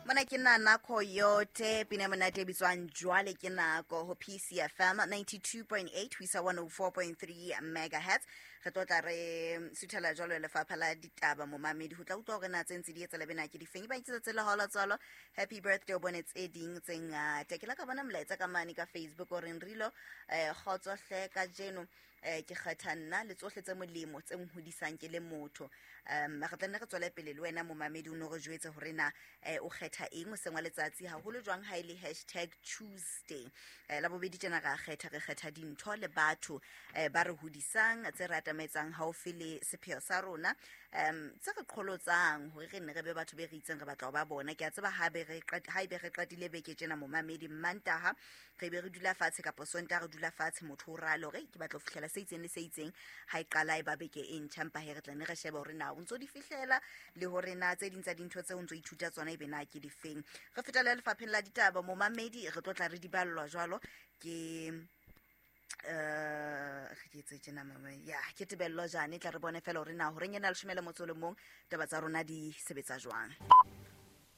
Mona ke Nana Coyote, pina e monate e bitswang Jwale ke Nako ho PCFM 92.8 ho isa 104.3 megahertz. Re tlo tla re suthela jwalo lefapha la ditaba momamedi ho tla utlwa hore na tse ntse di etsa lebena ke difeng. Ba itse tse le hola tswalo. Happy birthday o bone tse ding tse ngata. Ke la ka bona molaetsa ka mane ka Facebook o reng Rilo kgotso hle kajeno ke kgetha nna le tsohle tse molemo tse nhodisang ke le motho. Re tla nne re tswele pele le wena momamedi o no re jwetse hore na o kgetha eng hoseng wa letsatsi haholo jwang ha e le hashtag Tuesday. La bobedi tjena re a kgetha, re kgetha dintho le batho ba re hodisang, tse re atametsang haufi le sepheo sa rona, tse re qholotsang hore re nne re be batho be re itseng re batla ho ba bona. Ke a tseba ha be re ha ebe re qetile beke tjena momamedi, Mantaha re be re dula fatshe kapa Sontaha re dula fatshe, motho o rale hore ke batla ho fihlela se itseng le se itseng ha e qala e ba beke e ntjha, empa he re tla ne re shebe hore na o ntso di fihlela le hore na tse ding tsa dintho tseo o ntso ithuta tsona ebe na ke difeng. Re fetela lefapheng la ditaba momamedi, re tlo tla re di ballwa jwalo ke re ke etse tjena mama ya ke Tebello Jane, tla re bone fela hore na horeng ena leshome le motso le mong taba tsa rona di sebetsa jwang.